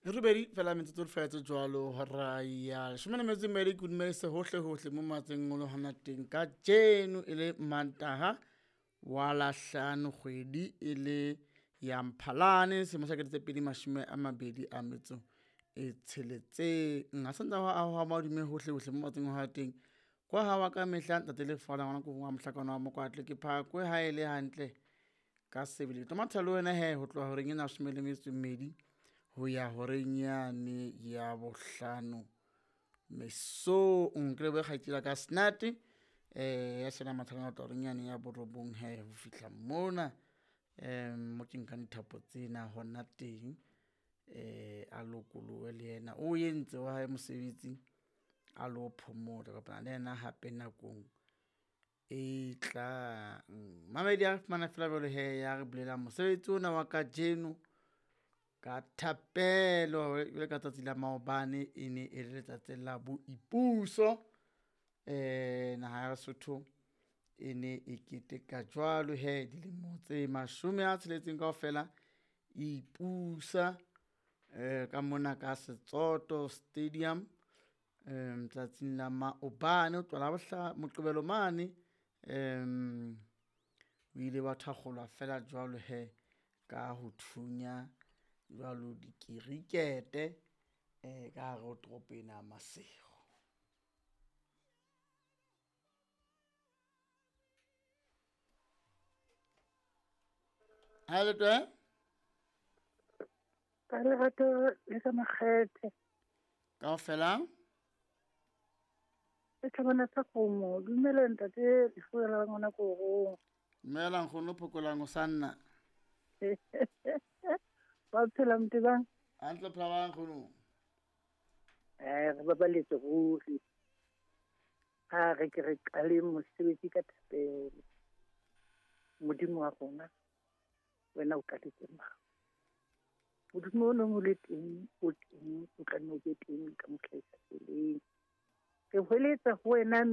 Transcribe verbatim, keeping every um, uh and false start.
Robedi fela metsotso le fela tse jwalo hora ya leshome le metso e mmedi ke dumedise hohle hohle mo matseng o le hona teng ka jeno e le Mantaha wa la hlano kgwedi e le ya Mphalane selemo sa kete tse pedi mashome a mabedi a metso e tsheletseng. Ha santsa ho ahwa madume hohle hohle mo matseng o hona teng. Kwa ha wa ka mehla ntate Lefala ngwana ko wa mohlakana wa Mokwatle ke phakwe ha e le hantle ka sebele. Ke tlo matha le wena he ho tloha horeng ena ya leshome le metso e mmedi ho ya horeng yane ya bohlano mesong. Ke lebohe kgaitsedi ya ka Snate eh ya sena matha le horeng yane ya borobong he ho fihla mona um mo ke nkang dithapo tsena hona teng eh a lokolohe le yena o entse wa hae mosebetsi a lo phomola. Kopana le yena hape nakong e tlang. Mamedi a fumana feela jwalo he ya re bulelang mosebetsi ona wa kajeno ka thapelo jwalo ka tsatsi la maobane e ne e le letsatsi la boipuso. Eh naha ya Lesotho e ne e keteka jwalo he dilemo tse mashome a tsheletseng kaofela e ipusa eh ka mona ka Setsoto Stadium um tsatsing la maobane ho tloha Labohla Moqebelo mane um o ile wa thakgolwa fela jwalo he ka ho thunya jwalo dikirikete eh ka hare ho toropo ena ya Maseru. Ha le twe? Ka lerato le ka makgethe. Kaofela? Le tlhabana sa kgomo. Dumela ntate Lefuela la ngwana korong. Dumela nkgono Phokolang o sa nna. Ba phela Mtebang? Hantle phela ba nkgono. Eh re babaletse ruri. Ha re ke re qale mosebetsi ka thapelo. Modimo wa rona wena o qaletse mang? Modimo o nong o le teng, o teng, o tla nne o be teng ka mohla e sa feleng. Re hweletsa ho wena